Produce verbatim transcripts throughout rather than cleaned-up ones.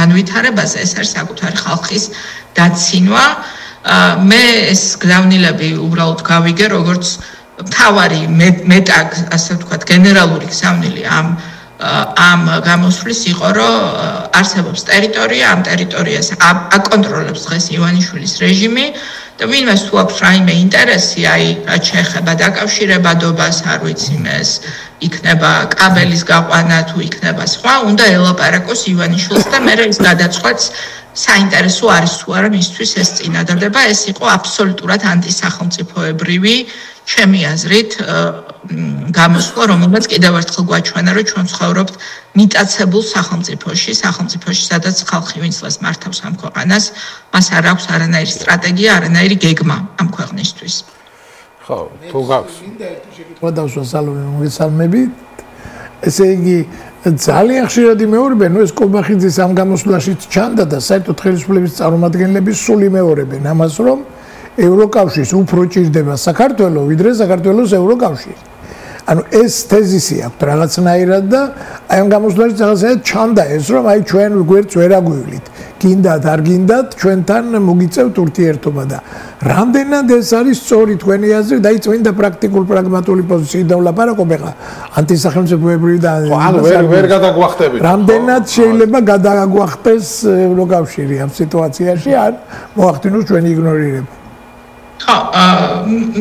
განვითარებაზე, ეს არის საკუთარი ხალხის დაცინვა. მე ეს გზავნილები უბრალოდ გავიგე, როგორც მთავარი მეტა, ასე ვთქვათ, გენერალური გზავნილი ამ ამ გამოსვლის იყო, რომ არსებობს ტერიტორია, ამ ტერიტორიას აკონტროლებს დღეს ივანიშვილის რეჟიმი და ვინმეს თუ აქვს რაიმე ინტერესი, აი, რაც შეეხება დაკავშირებადობას, არ ვიცი ეს იქნება კაბელის გაყვანა თუ იქნება სხვა, უნდა ელაპარაკოს ივანიშვილს და მე ის გადაწყვეტს საინტერესო არის თუ არა მისთვის ეს წინადადება, ეს იყო აბსოლუტურად ანტისახელმწიფოებრივი, ჩემი აზრით, გამოსვლა, რომელმაც კიდევ ერთხელ გვაჩვენა, რომ ჩვენ ცხოვრობთ მიტაცებულ სახელმწიფოში, სახელმწიფოში, სადაც ხალხი ვინცლას მართავს ამ ქვეყანას, მას არ აქვს არანაირი სტრატეგია, არანაირი გეგმა ამ ქვეყნისთვის. ხო, თუ გაქვს. შეკითხვა დავსვა სალომე მოგესალმებით. ესე იგი ძალიან ხშირად იმეორებენ, ნუ ეს კობახიძის ამ გამოსვლაშიც ჩანდა და საერთოდ ხელისუფლების წარმომადგენლები სულ იმეორებენ ამას, რომ ევროკავშირს უფრო ჭირდება საქართველო, ვიდრე საქართველოს ევროკავშირი. ანუ ეს თეზისი აქვს რაღაცნაირად და აი ამ გამოსვლაშიც რაღაცნაირად ჩანდა ეს, რომ აი ჩვენ გვერდს ვერ აგვივლით. გინდათ, არ გინდათ, ჩვენთან მოგიწევთ ურთიერთობა და რამდენად ეს არის სწორი თქვენი აზრით, აი წმინდა პრაქტიკულ პრაგმატული პოზიციით დავლაპარაკობ ახლა ანტისახელმწიფოებრივი და ანუ ვერ ვერ გადაგვახტებით. რამდენად შეიძლება გადაგვახტეს ევროკავშირი ამ სიტუაციაში, ან მოახდინოს ჩვენი იგნორირება. ხო,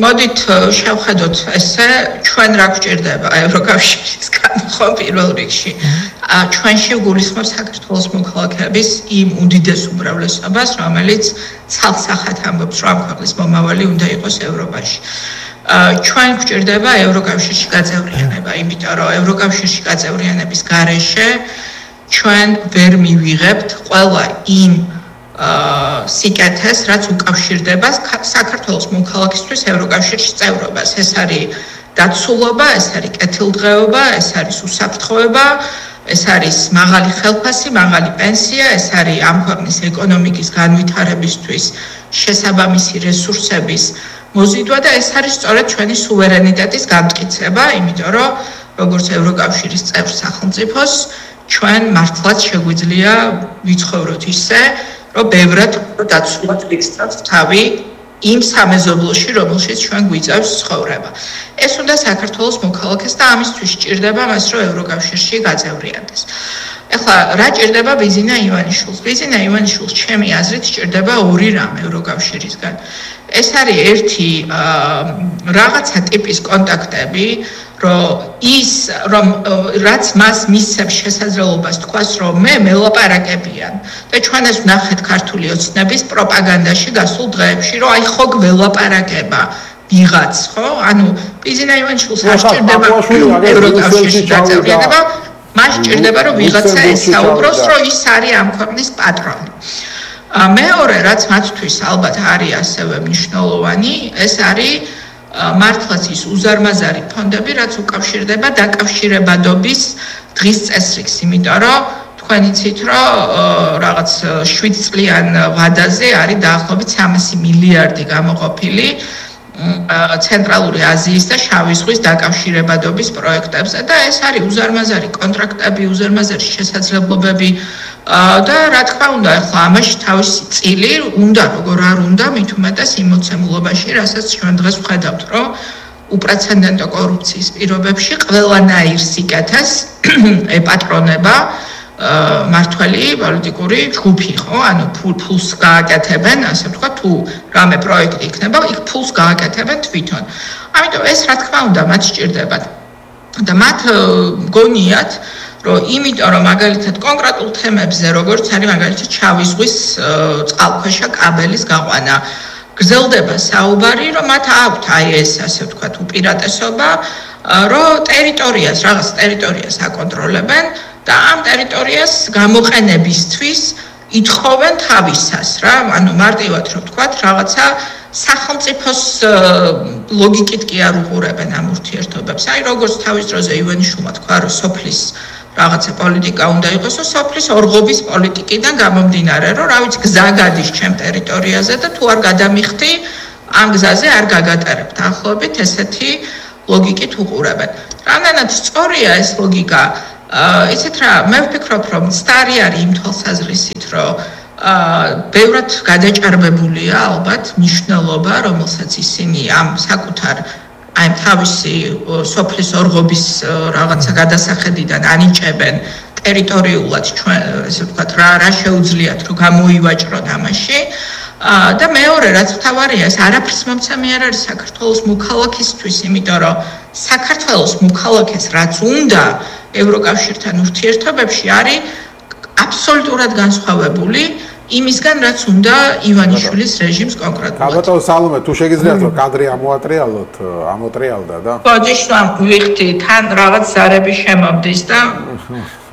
მოდით შევხედოთ ესე, ჩვენ რა გვჭირდება ევროკავშირისგან, ხო, პირველ რიგში. ჩვენში გულისხმობს საქართველოს მოქალაქეების იმ უდიდეს უმრავლესობას, რომელიც ცალსახად ამბობს, რომ ამ ქვეყნის მომავალი უნდა იყოს ევროპაში. ჩვენ გვჭირდება ევროკავშირში გაწევრიანება, იმიტომ რომ ევროკავშირში გაწევრიანების გარეშე ჩვენ ვერ მივიღებთ ყველა იმ სიკეთეს, რაც უკავშირდება საქართველოს მოქალაქისთვის ევროკავშირში წევრობას. ეს არის დაცულობა, ეს არის კეთილდღეობა, ეს არის უსაფრთხოება, ეს არის მაღალი ხელფასი, მაღალი პენსია, ეს არის ამ ქვეყნის ეკონომიკის განვითარებისთვის შესაბამისი რესურსების მოზიდვა და ეს არის სწორედ ჩვენი სუვერენიტეტის გამტკიცება, იმიტომ რომ როგორც ევროკავშირის წევრ სახელმწიფოს ჩვენ მართლაც შეგვიძლია ვიცხოვროთ ისე, რომ ბევრად დაცულად ვიქცევთ თავი იმ სამეზობლოში, რომელშიც ჩვენ გვიწევს ცხოვრება. ეს უნდა საქართველოს მოქალაქეს და ამისთვის სჭირდება მას, რომ ევროკავშირში გაწევრიანდეს. ეხლა რა ჭირდება ბიზინა ივანიშვილს? ბიზინა ივანიშვილს ჩემი აზრით სჭირდება ორი რამ ევროკავშირისგან. ეს არის ერთი რაღაცა ტიპის კონტაქტები, რომ ის რომ რაც მას მისცემს შესაძლებლობას თქვას, რომ მე მელაპარაკებიან და ჩვენ ეს ვნახეთ ქართული ოცნების პროპაგანდაში გასულ დღეებში, რომ აი ხო გველაპარაკება ვიღაც, ხო? ანუ ბიზინა ივანიშვილს არ სჭირდება ევროკავშირში გაწევრიანება, მას სჭირდება რომ ვიღაცა ესაუბროს, რომ ის არის ამ ქვეყნის პატრონი. მეორე, რაც მათთვის ალბათ არის ასევე მნიშვნელოვანი, ეს არის მართლაც ის უზარმაზარი ფონდები, რაც უკავშირდება დაკავშირებადობის დღის წესრიგს, იმიტომ რომ თქვენ იცით, რომ რაღაც შვიდ წლიან ვადაზე არის დაახლოებით სამასი მილიარდი გამოყოფილი ცენტრალური აზიის და შავი ზღვის დაკავშირებადობის პროექტებზე და ეს არის უზარმაზარი კონტრაქტები, უზარმაზარი შესაძლებლობები და რა თქმა უნდა, ახლა ამაში თავისი წილი უნდა, როგორ არ უნდა, მით უმეტეს იმ მოცემულობაში, რასაც ჩვენ დღეს ვხედავთ, რომ უპრეცედენტო კორუფციის პირობებში ყველანაირ სიკეთეს ეპატრონება მართველი პოლიტიკური ჯგუფი, ხო? ანუ ფულს გააკეთებენ, ასე ვთქვათ, თუ რამე პროექტი იქნება, იქ ფულს გააკეთებენ თვითონ. ამიტომ ეს რა თქმა უნდა მათ სჭირდებათ. და მათ გონიათ, რომ იმიტომ რომ მაგალითად კონკრეტულ თემებზე, როგორც არის მაგალითად შავი ზღვის წყალქვეშა კაბელის გაყვანა, გრძელდება საუბარი, რომ მათ აქვთ აი ეს, ასე ვთქვათ, უპირატესობა, რომ ტერიტორიას, რაღაც ტერიტორიას აკონტროლებენ და ამ ტერიტორიას გამოყენებისთვის ითხოვენ თავისას, რა, ანუ მარტივად რომ ვთქვათ, რაღაცა სახელმწიფოს ლოგიკით კი არ უყურებენ ამ ურთიერთობებს. აი როგორც თავის დროზე ივანიშვილმა თქვა, რომ სოფლის რაღაცა პოლიტიკა უნდა იყოს, რომ სოფლის ორღობის პოლიტიკიდან გამომდინარე, რომ რა ვიცი, გზა გადის ჩემ ტერიტორიაზე და თუ არ გადამიხდი, ამ გზაზე არ გაგატარებ. დაახლოებით ესეთი ლოგიკით უყურებენ. რამდენად სწორია ეს ლოგიკა? ისეთ რა, მე ვფიქრობ, რომ მცდარი არის იმ თვალსაზრისით, რომ ბევრად გადაჭარბებულია ალბათ მნიშვნელობა, რომელსაც ისინი ამ საკუთარ აი თავისი სოფლის ორღობის რაღაცა გადასახედიდან ანიჭებენ ტერიტორიულად ჩვენ ესე ვთქვათ რა რა შეუძლიათ რომ გამოივაჭრონ ამაში და მეორე რაც თავარია ეს არაფერს მომცემი არ არის საქართველოს მოქალაქისთვის, იმიტომ რომ საქართველოს მოქალაქეს რაც უნდა ევროკავშირთან ურთიერთობებში არის აბსოლუტურად განსხვავებული იმისგან რაც უნდა ივანიშვილის რეჟიმს კონკრეტულად. ალბათ სალომე თუ შეგიძლიათ რომ კადრი ამოატრიალოთ, ამოტრიალდა და ბოდიშვამ ვიხდი თან რაღაც ზარები შემომდის და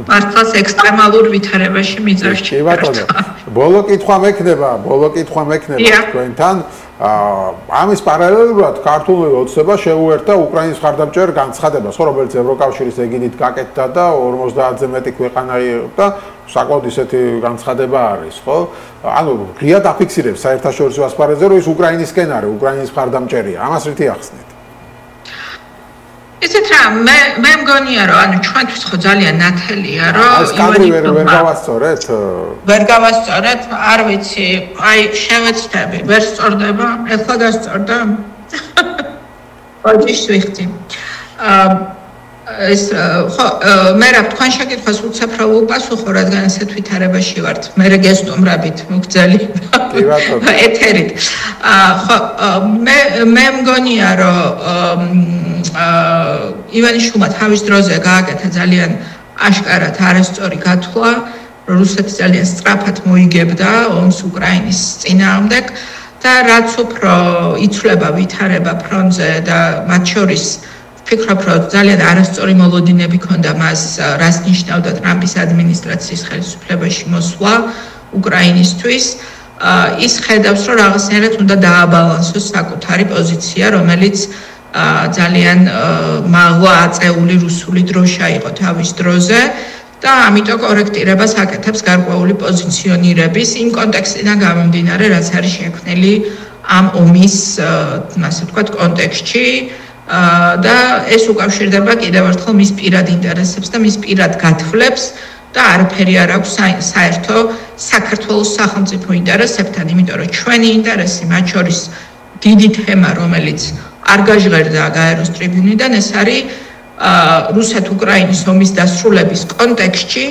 მართლაც ექსტრემალურ ვითარებაში მიძავს კი ბატონო. ბოლო კითხვა მექნება, ბოლო კითხვა მექნება თქვენთან. ამის პარალელურად ქართული ოცნება შეუერთდა უკრაინის მხარდამჭერ განცხადებას, ხო, რომელიც ევროკავშირის ეგიდით გაკეთდა და ორმოცდაათზე მეტი ქვეყანა და საკმაოდ ისეთი განცხადება არის, ხო? ანუ ღიად აფიქსირებს საერთაშორისო ასპარეზზე, რომ ის უკრაინისკენ არის, უკრაინის მხარდამჭერია. ამას რითი ახსნით? ისეთ რა მე მე მგონია რომ ანუ ჩვენთვის ხო ძალიან ნათელია რომ ეს კადრი ვერ ვერ გავასწორეთ ვერ გავასწორეთ არ ვიცი აი შევეცდები ვერ სწორდება ეხლა გასწორდა ბოდიშ ვიხდი ეს ხო მე რა თქვენ შეკითხვას უცებ რა უპასუხო რადგან ასეთ ვითარებაში ვართ მე რეგესტუმრებით მოგძელი ეთერით ხო მე მე მგონია რომ ივანიშვილმა თავის დროზე გააკეთა ძალიან აშკარად არასწორი გათვლა რუსეთი ძალიან სწრაფად მოიგებდა ომს უკრაინის წინააღმდეგ და რაც უფრო იცვლება ვითარება ფრონტზე და მათ შორის ვფიქრობ, რომ ძალიან არასწორი მოლოდინები ჰქონდა მას, რას ნიშნავდა ტრამპის ადმინისტრაციის ხელისუფლებაში მოსვლა უკრაინისთვის. ის ხედავს, რომ რაღაცნაირად უნდა დააბალანსოს საკუთარი პოზიცია, რომელიც ძალიან მაღლა აწეული რუსული დროშა იყო თავის დროზე და ამიტომ კორექტირებას აკეთებს გარკვეული პოზიციონირების იმ კონტექსტიდან გამომდინარე, რაც არის შექმნილი ამ ომის, ასე ვთქვათ, კონტექსტში. და ეს უკავშირდება კიდევ ერთხელ მის პირად ინტერესებს და მის პირად გათვლებს და არაფერი არ აქვს საერთო საქართველოს სახელმწიფო ინტერესებთან, იმიტომ რომ ჩვენი ინტერესი მათ შორის დიდი თემა, რომელიც არ გაჟღერდა გაეროს ტრიბუნიდან, ეს არის რუსეთ-უკრაინის ომის დასრულების კონტექსტში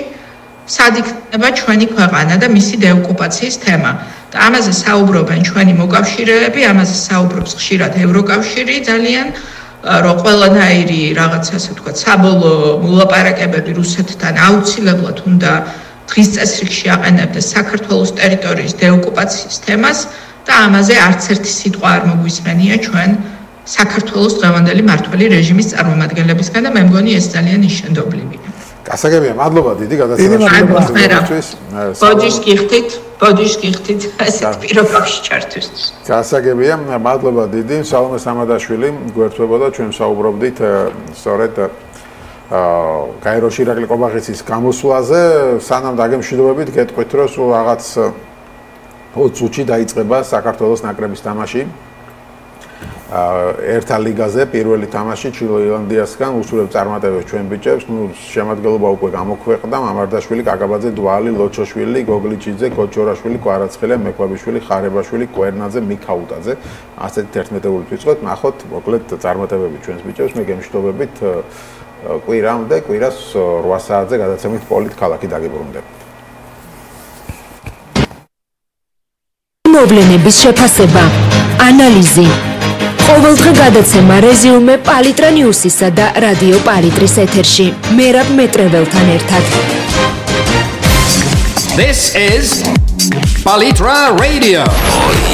სად იქნება ჩვენი ქვეყანა და მისი დეოკუპაციის თემა. და ამაზე საუბრობენ ჩვენი მოკავშირეები, ამაზე საუბრობს ხშირად ევროკავშირი ძალიან რომ ყველანაირი რაღაც ასე ვთქვათ საბოლოო მოლაპარაკებები რუსეთთან აუცილებლად უნდა დღის წესრიგში აყენებდეს საქართველოს ტერიტორიის დეოკუპაციის თემას და ამაზე არც ერთი სიტყვა არ მოგვისმენია ჩვენ საქართველოს დღევანდელი მმართველი რეჟიმის წარმომადგენლებისგან და მე მგონი ეს ძალიან ნიშანდობლივია. გასაგებია, მადლობა დიდი გადაცემისთვის. ბოდიშ გიხდით, ბოდიშ გიხდით ასეთ პირობებში ჩართვისთვის. გასაგებია, მადლობა დიდი. სალომე სამადაშვილი გვერდთვებოდა, ჩვენ საუბრობდით სწორედ გაეროში ირაკლი ყობახიცის გამოსვლაზე, სანამ დაგემშვიდობებით გეტყვით, რომ სულ რაღაც ოც წუთში დაიწყება საქართველოს ნაკრების თამაში. ერთა ლიგაზე პირველი თამაში ჩილე-ირლანდიასგან უსურვებ წარმატებებს ჩვენ ბიჭებს. ნუ შემადგენლობა უკვე გამოქვეყნდა, მამარდაშვილი, კაკაბაძე, დვალი, ლოჩოშვილი, გოგლიჩიძე, კოჩორაშვილი, კვარაცხელე, მექვაბიშვილი, ხარებაშვილი, კვერნაძე, მიქაუტაძე. ასეთი თერთმეტეული ვიწყოთ, ნახოთ მოკლედ წარმატებები ჩვენს ბიჭებს. მე გემშვიდობებით კვირამდე, კვირას რვა საათზე გადაცემით პოლიტ ქალაქი დაგიბრუნდებით. მოვლენების შეფასება, ანალიზი ყოველდღე გადაცემა რეზიუმე პალიტრა ნიუსისა და რადიო პალიტრის ეთერში. მერაბ მეტრეველთან ერთად. This is Palitra Radio. Oh, yeah.